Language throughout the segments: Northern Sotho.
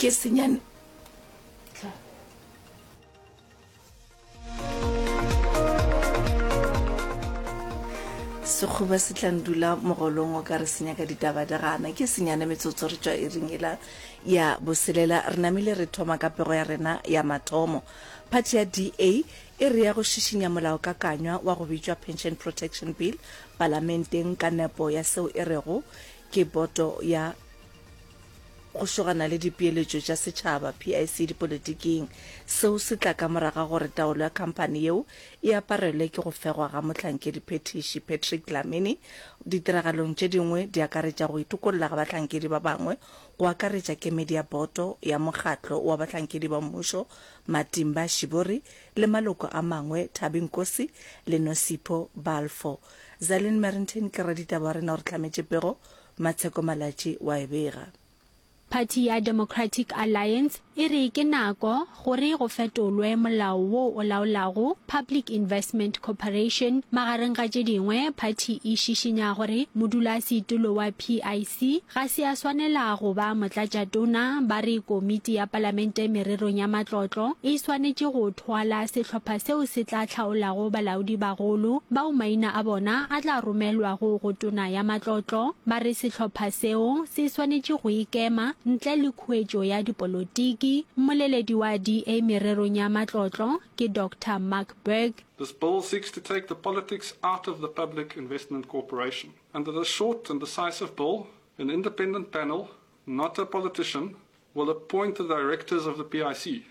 Ke senyane. Sekgoba se tla ndula mogolong o ka re se nyaka ditaba di gana. Ke senyane metsotso re tšwa iring ela ya boselela. Re namile re thoma ka pego ya rena ya mathomo. Phathi ya DA e re ya go šišinya molaokakanywa wa go bitšwa Pension Protection Bill palamenteng ka nepo ya seo e rego ke boto ya go šogana le dipeeletšo tša setšhaba, PIC, dipolitiking. Seo se tla ka morago ga gore taolo ya khamphani yeo e aparelwe ke go fegwa ga mohlankedi-phethiši Patrick Dlamini. Ditiragalong tše dingwe di akaretša go itokolla ga bahlankedi ba bangwe, go akaretša kemedi ya boto ya mokgatlo wa bahlankedi ba mmušo Matimba Shiburi le maloko a mangwe Thabi Nkosi le Nosipho Balfour. Zalin Merrington ke raditaba wa rena o re hlametše pego Matsheko Malatji wa e bega. Phathi ya Democratic Alliance e re ke nako gore go fetolwe molao wo o laolago Public Investment Corporation. Magareng ga tše dingwe, phathi e šišinya gore modulasetulo wa PIC ga se a swanela go ba motlatšatona. Ba re komiti ya palamente mererong ya matlotlo e swanetše go thwala sehlopha seo se tla hlaolago balaodibagolo bao maina a bona a tla romelwago go Tona ya Matlotlo. Ba re sehlopha seo se swanetše go ikema ntle le khuetšo ya dipolotiki. Mmoleledi wa DA mererong ya matlotlo ke Doctor Mark Burg. This bill seeks to take the politics out of the Public Investment Corporation. Under this short and decisive bill, an independent panel, not a politician, will appoint the directors of the PIC.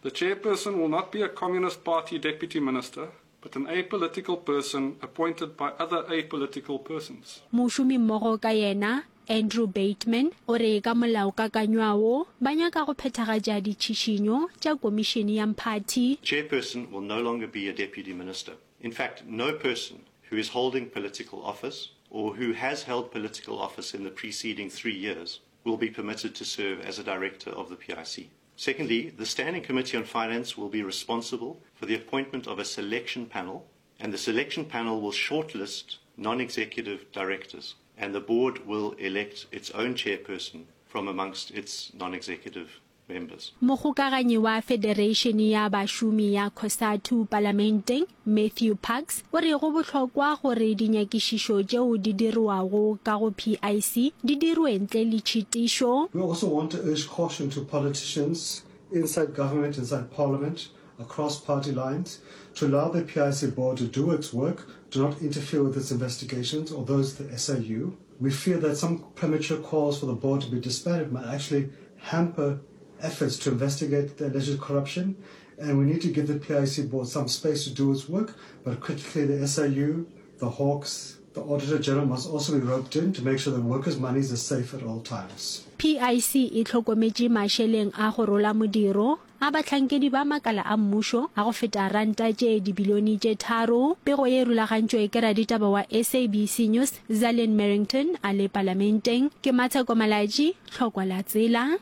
The chairperson will not be a Communist Party deputy minister, but an apolitical person appointed by other apolitical persons. Mošomimmogo ka yena, Andrew Bateman, o re ka molaokakanywa wo, ba nyaka go phethagatša ditšhišinyo tša Komišene ya Mphathi. Chairperson will no longer be a deputy minister. In fact, no person who is holding political office or who has held political office in the preceding three years will be permitted to serve as a director of the PIC. Secondly, the Standing Committee on Finance will be responsible for the appointment of a selection panel, and the selection panel will shortlist non-executive directors, and the board will elect its own chairperson from amongst its non-executive members. Mokgokaganyi wa Federeišene ya Bašomi ya Cosatu Palamenteng, Matthew Parks, o re go bohlokwa gore dinyakišišo tšeo di dirwago ka go PIC di dirwe ntle le tšhitišo. We also want to urge caution to politicians inside government, inside parliament, across party lines, to allow the PIC board to do its work, do not interfere with its investigations or those of the SIU. We fear that some premature calls for the board to be disbanded might actually hamper efforts to investigate the alleged corruption and we need to give the PIC board some space to do its work, but critically the SIU, the Hawks, the Auditor General must also be roped in to make sure that workers' monies are safe at all times. PIC e hlokometše mašeleng a go rola modiro a bahlankedi ba makala a mmušo a go feta ranta tše dibilione tše tharo. Pego ye e rulagantšwe ke raditaba wa SABC News, Zalin Merrington a le Palamenteng. Ke Matsheko Malatji, Tlhokwa la tsela.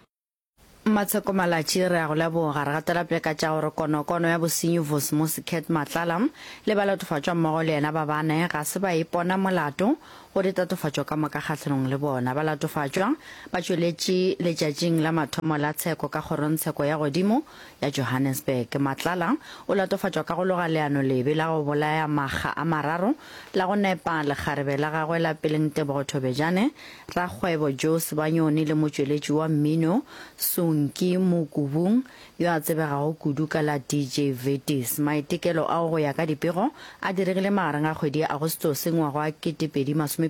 Matsheko Malatji, Re a go leboga. Re gatela pele ka tša gore konokono ya bosenyi Vusimusi Cat Matlala le balatofatšwa mmogo le yena ba bane ga se ba ipona molato go ditatofatšo ka moka kgahlanong le bona. Balatofatšwa ba tšweletše letšatšing la mathomo la tsheko ka kgorongtsheko ya godimo ya Johannesburg. Matlala o latofatšwa ka go loga leano lebe la go bolaya makga a mararo la go nepa lekgarebe la gagwe la peleng Tebogo Thobejane, rakgwebo Joe Sebanyoni le motšweletši wa mmino Sonki Mokubung yo a tsebegago kudu ka la DJ Vetis. Maitekelo ao go ya ka dipego a diregile magareng a kgwedi ya Agostose ngwaga wa 2022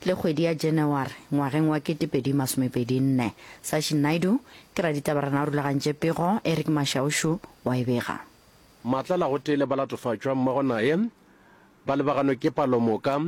le kgwedi ya Janaware ngwageng wa 2024. Sachin Naidu ke raditaba rena o rulagantše pego, Eric Mashaushu wa e bega. Matlala gotee le balatofatšwa mmogo naye ba lebaganwe ke palomoka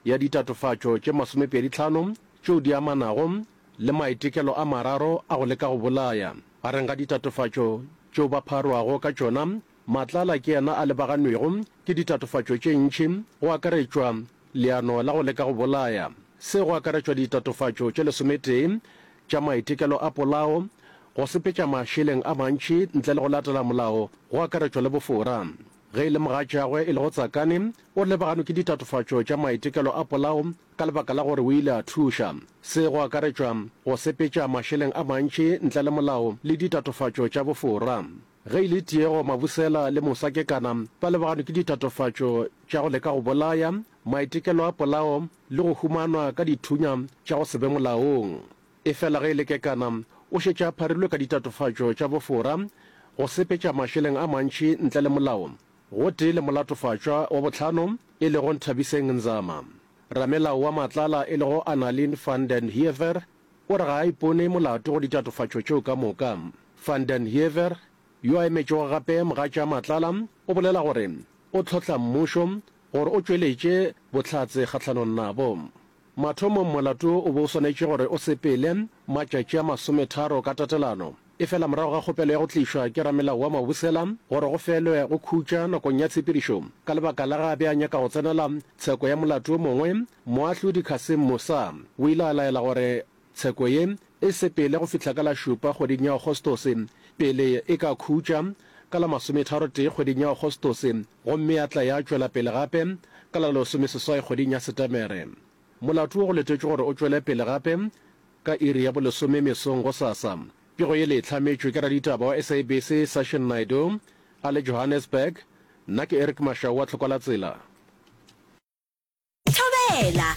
ya ditatofatšo tše masomepeditlhano tšeo di amanago le maitekelo a mararo a go leka go bolaya. Gareng ga ditatofatšo tšeo ba pharwago ka tšona, Matlala ke yena a lebaganwego ke ditatofatšo tše ntši, go akaretšwa leano la go leka go bolaya. Se go akaretšwa ditatofatšo tše lesometee tša maitekelo a polao, go sepetša mašeleng a mantši ntle le go latela molao, go akaretšwa le bofora. Ge e le mogatšagwe e lego Tsakane, o lebaganwe ke ditatofatšo tša maitekelo a polao ka lebaka la gore o ile a thuša. Se go akaretšwa go sepetša mašeleng a mantši ntle le molao le ditatofatšo tša bofora. Ge e le Tiego Mabusela le Musa Kekana ba lebaganwe ke ditatofatšo tša go leka go bolaya, maitekelo a polao le go humanwa ka dithunya tša go se be molaong. Efela ge e le Kekana, o šetše a pharilwe ka ditatofatšo tša bofora, go sepetša mašeleng a mantši ntle le molao, gotee le molatofatšwa wa bohlano e lego Nthabiseng Nzama. Ramelao wa Matlala e lego Annalene van den Heever o re ga a ipone molato go ditatofatšo tšeo ka moka. Van den Heever, yo a emetšego gape mogatša Matlala, o bolela gore o tlhohla mmušo gore o tšweletše bohlatse kgahlanong nabo. Mathomong molato o be o swanetše gore o sepele matšatši a masometharo ka tatelano. Efela morago ga kgopelo ya go tlišwa ke ramelao wa Mabusela gore go felwe go khutša nakong ya tshepedišo ka lebaka la ge a be a nyaka go tsenela tsheko ya molato o mongwe, moahlodi Cassim Moosa o ile a laela gore tsheko ye e sepele go fihla ka la šupa kgweding ya Agostose pele e ka khutša ka la masometharotee kgweding ya Agostose gomme ya tla ya tšwela pele gape ka la lesomeseswai kgweding ya Setemere. Molato wo go letetšwe gore o tšwele pele gape ka iri ya bolesome mesong gosasa. Pego ye le e hlametšwe ke raditaba wa SABC Sashin Naidoo a le Johannesburg. Nna ke Eric Mashau wa Tlhokwalatsela. Thobela!